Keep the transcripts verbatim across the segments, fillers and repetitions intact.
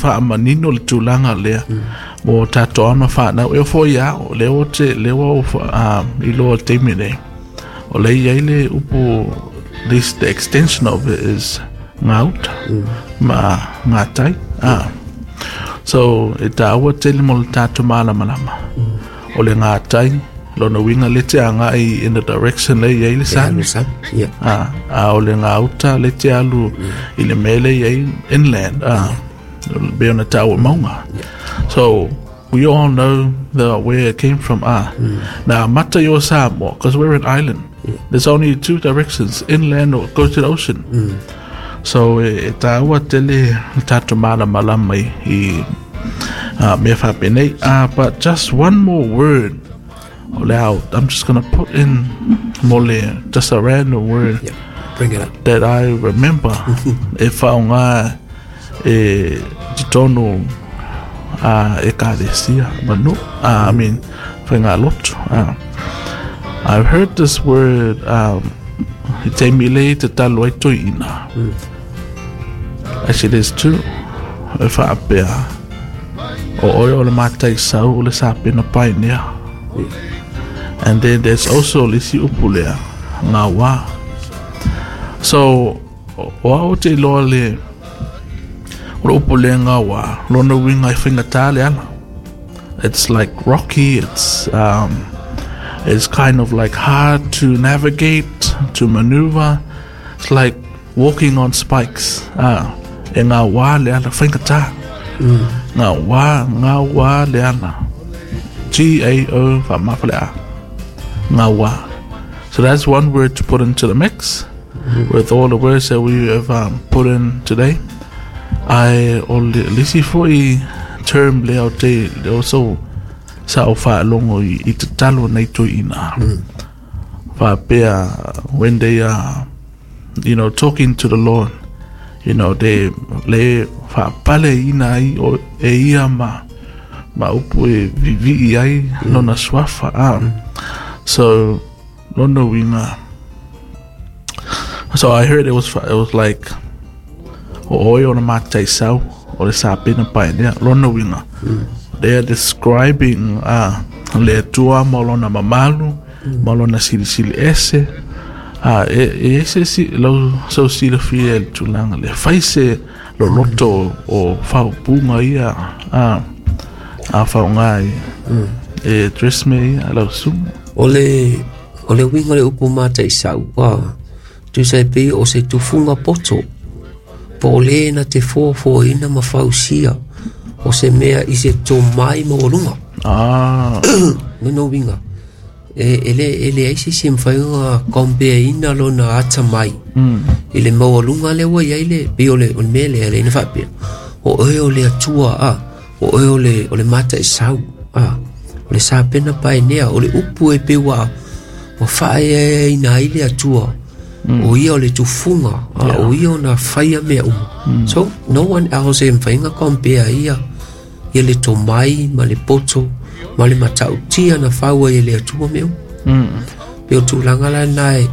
Faamanino le tulaga lea mo tatou ama fanau e foi a o lea ua te lea ua um, iloa taimi nei o lea i ai le upu, this the extension of it is gauta ma gatai ah. So e tāua tele mo le tatou malamalama o le gatai lona uiga le te agai in the direction le i ai le sami. Yeah. Ah, a o le gauta le te alu i le mea le i ai inland ah, be ona tāua maunga. So we all know the where it came from ah. Now mata i o Samoa, because we're an island, there's only two directions, inland or go to the ocean. So e, e tāua tele le tātou malamalama i, i uh, mea faapenei uh, but just one more word o le au, I'm just gonna put in mo le just a random word. Yeah. Bring it up. That I remember e whaonga e titonu uh, e karesia manu uh, I mean whaingaloto uh, I've heard this word um, i te mile te talo ai toi ina. Actually, there's two e whaapea o oe o le matai sau o le sapena pai nea, and then there's also le isi upu lea ngā wā. So o au te iloa le o le upu lea ngā wā lona uiga e faigata le ala. It's like rocky, it's um, it's kind of like hard to navigate, to maneuver. It's like walking on spikes ah, e ngā wā le ala faigata ngā wā ngā wā le ala G A O whaamawha le a ngā wā. So that's one word to put into the mix with all the words that we have um, put in today. Ai o le lisi foi term lea o te le o so sa o whaalongo i, i te talo nei toi ina. Whaapea when they are you know talking to the Lord, you know they le whaapale ina ai o e ia ma ma upu e vivi ai lona suafa ah. So lona uiga. So I heard it was it was like o oi o na matai sau o le sapena pai nea lona uiga. They are describing ah le Atua ma lona mamalu ma lona silisili ese ah e e ese si lo so silafia le tulaga le fai se loloto o faaupuga ia ah a faaaoga i e address me ia lau susuga. O le o le uiga o le upu mataisau a tusa e pei o se tufuga poto po o lē na te foafoaina ma fausia o se mea i se tomai maualuga. Ah. Lona uiga e, e le e leai se isi e mafai ona kompeaina lona atamai mm. i le maualuga lea ua iai le pei o le o le mea lea lea ina faapea o oe o le Atua a o oe o le o le mataisau a o le sapena paenea o le upu e pei ua ua faaeaina ai le Atua o ia o le tufuga a o ia ona faia mea uma. So no one else e mafai ona compare ia ia le tomai ma le poto ma le matautia na fau ai e le Atua mea uma. Mm. Pe o tulaga la na e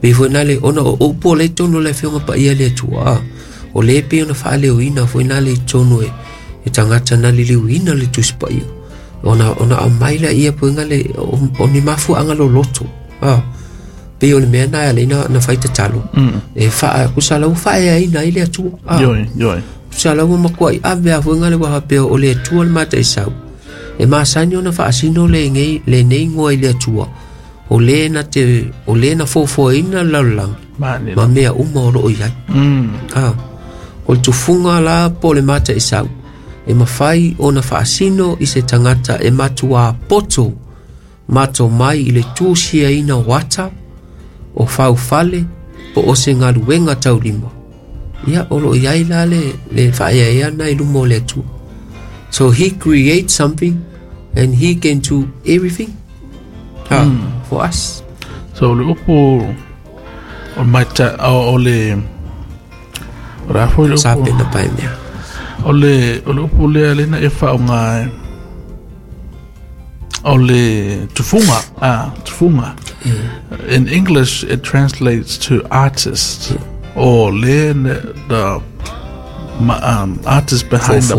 pei foi na le ona o upu o le tonu o le afioga paia le Atua a o le pei ona faaleoina foi na le i tonu e e tagata na liliuina le Tusi Paia ona ona aumai laia puega le o, o ni mafuaaga loloto a pei o le mea na e alai na, na fai tatalo Mm. e faa kusa lau faaeaina ai le Atua a Ioe, ioe. Kusa lau makuai ave a fuega le ua faapea o le Atua le mataisau e masani ona faasino le ngei lenei igoa i le Atua o lē na te o lē na foafoaina le lalolagi Mani. ma mea uma o loo i ai. Mm. A o le tufuga la po o le mataisau e mafai ona faasino i se tagata e matuā poto mato mai i le tusiaina o ata o faufale po o se galuega taulima ia o loo i ai la le le faaeaea na i luma o le Atua. So he creates something and he can do everything ha, for us. So le upu o maita o, o le o le a foi le upu Sapena pae mea. O le o le upu lea lena e faaaoga e o le tufuga ah tufuga. In English it translates to artist or le the ma, um, artist behind the